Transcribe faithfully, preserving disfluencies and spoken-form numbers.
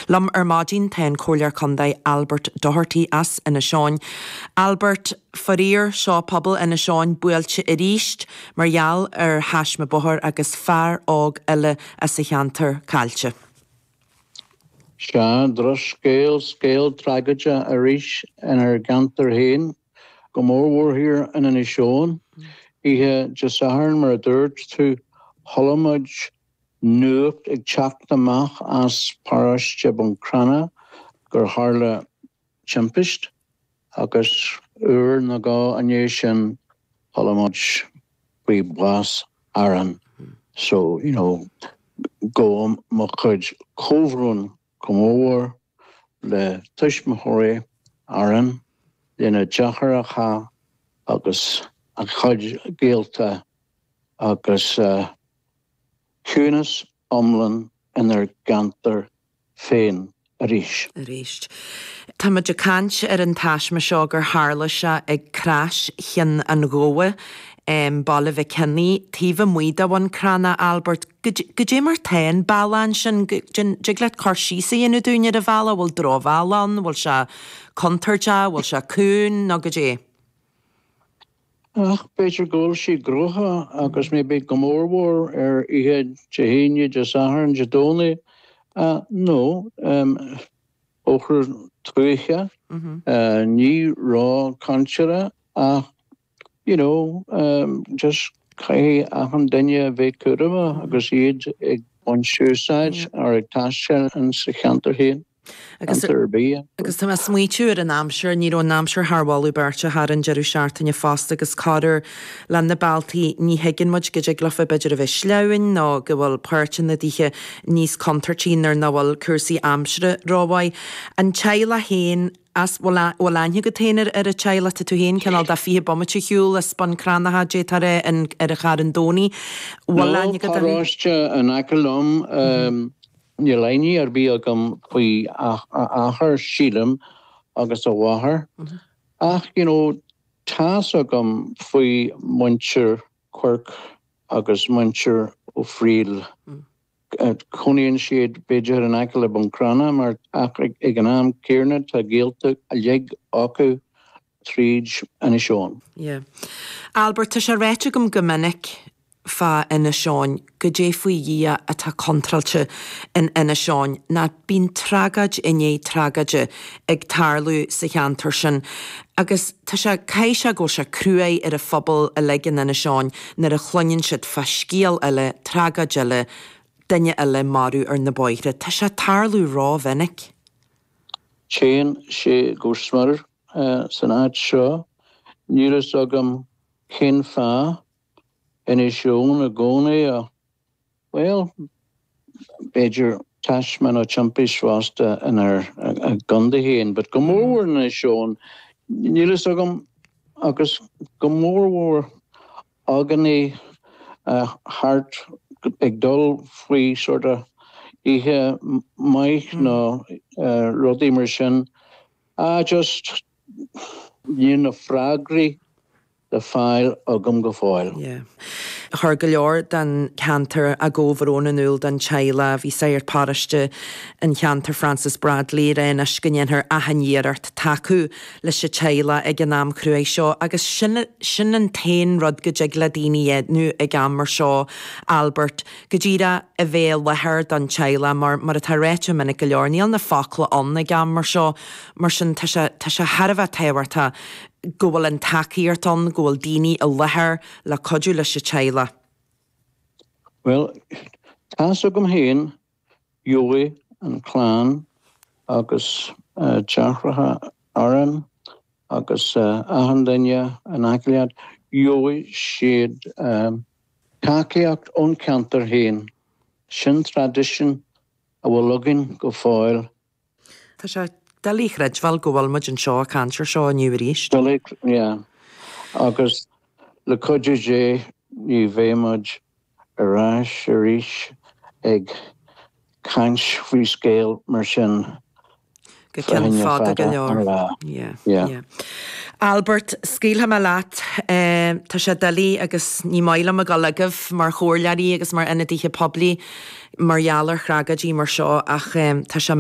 Liom ar maidin tá an Comhairleoir Contae Albert Doherty as Inis Eoghain. Albert faraor seo pobal Inis Eoghain buailte arís mar gheall ar thaisme bóthair agus fear óg eile as an cheantar caillte. Sea drochscéal scéal tragóideach arís inár gceantar féin, go mórmhór thiar in Inis Eoghain, Oíche Dé Sathairn mar a dúirt tú chuala muid nuacht ag teacht amach as paróiste Bhun Cranncha gur tharla timpist agus uair nó dhó i ndiaidh sin chuala muid faoi bhás Aaron. So, you know, gabhaim mo chuid comhbhrón go mór le tuismitheoirí Aaron lena dheartháireacha agus a chuid gaolta agus uh, ciúnas iomlán inár gceantar féin arís. Arís. Tá muid ag caint ar an taisme seo gur tharla sé ag Crois Chinn an Ghabha um, Baile Mhic Cionnaith taobh amuigh de Bhun Cranncha Albert Goidé mar tá an bealach sin dtig leat cur síos a dhéanamh dúinn ar an bhealach bhfuil drochbhealach ann, bhfuil sé contúirteach, bhfuil sé cúng nó goidé. Ach b'fhéidir go bhfuil sé gnóthach agus maybe go mórmhór ar oíche Dé hAoine Dé Sathairn Dé Domhnaigh uh, nó um, bóthar tuaithe mm -hmm. uh, ní ró-chontúirteach ach you know, um, just caithfidh achan duine bheith cúramach agus iad ag baint úsáid ar ag taisteal in sa cheantar féin. Agus agus tá smaoitiú ar an aimsir ní raibh an aimsir thar mholadh beirte thar an deireadh seachtaine fosta agus corruair le na bealtaí ní thuigeann muid go dtig leofa b'fhéidir a bheith sleamhain nó go bhfuil páirteanna díche níos contúirtí nuair nach bhfuil cúrsaí aimsire rómhaith. An teaghlach féin as bhfuil aithne agat féin ar ar an teaghlach tá tú féin cineál de fiche bomaite ar shiúl as Bun Cranncha dé tar an ar a Charn Domhnaigh. Bhfuil aithne agat paróiste in aice liom níl aithne ar bith agam faoi athair sílim agus a mháthair. Ach you know, tá's agam faoi muintir Quirk agus muintir Ó Frighil. Mm. Cónaíonn siad b'fhéidir in aice le Bun Cranncha mar ach ag an am céanna tá gaolta uilig acu tríd Inis Eoghain. Yeah. Albert tá sé ráite agam go minic fá Inis Eoghain goidé faoi Dhia atá contráilte in Inis Eoghain ná bíonn tragóid i ndiaidh tragóide ag tarlú sa cheantar sin. Agus tá sé caithfidh sé go bhfuil sé cruaidh ar an phobal uilig in Inis Eoghain nuair a chluineann siad fá scéal eile, tragóid eile, duine eile marbh ar na bóithre. Tá sé tarlú rómhinic. Téann sé go smior uh, san áit seo, Níl a fhios agam cén fáth Inis Eoghain i gcónaí a well b'fhéidir taisme nó timpist fosta inár gcontae féin, but go mórmhór Inis Eoghain níl a fhios agam agus go mórmhór againne uh, thart ag dul faoi sort of oíche maith nó uh, rudaí mar sin uh, just níl na freagraí le fáil agam go fóill. Yeah. Chuir go leor den cheantar a gcomhbhrón in iúl don teaghlach bhí sagart paróiste an cheantar Francis Bradley réis go ndéanfar achan iarracht tacú leis an teaghlach ag an am cruaidh seo agus sin sin an t-aon rud go dtig le daoine a dhéanamh ag am mar seo Albert go díreach a bheith i láthair don teaghlach mar mar atá ráite minic go leor níl na focla ann ag am mar seo mar sin tá sé tá sé thar a bheith tábhachtach go bhfuil an tacaíocht ann go bhfuil daoine i láthair le cuidiú leis an teaghlach. Well, tá's agam féin gheobhaidh an clann agus uh, deartháireacha Aaron agus uh, achan duine in aice leat gheobhaidh siad um, tacaíocht ón ceantar féin sin traidisiún a bhfuil againn go fóill. Tá sé doiligh a chreidbheáil go bhfuil muid anseo ag caint air seo inniu arís. Doiligh, yeah. Agus le cuidiú Dé ní bheidh muid ar ais arís ag caint faoi scéal mar sin. Go ceann fada go leor. Yeah, Yeah. yeah. Albert scaoilfidh mé leat eh, tá sé doiligh agus ní maith liom a ghabháil agaibh mar chomhairleoirí agus mar ionadaithe poiblí mar gheall ar thragóidí mar seo ach eh, tá sé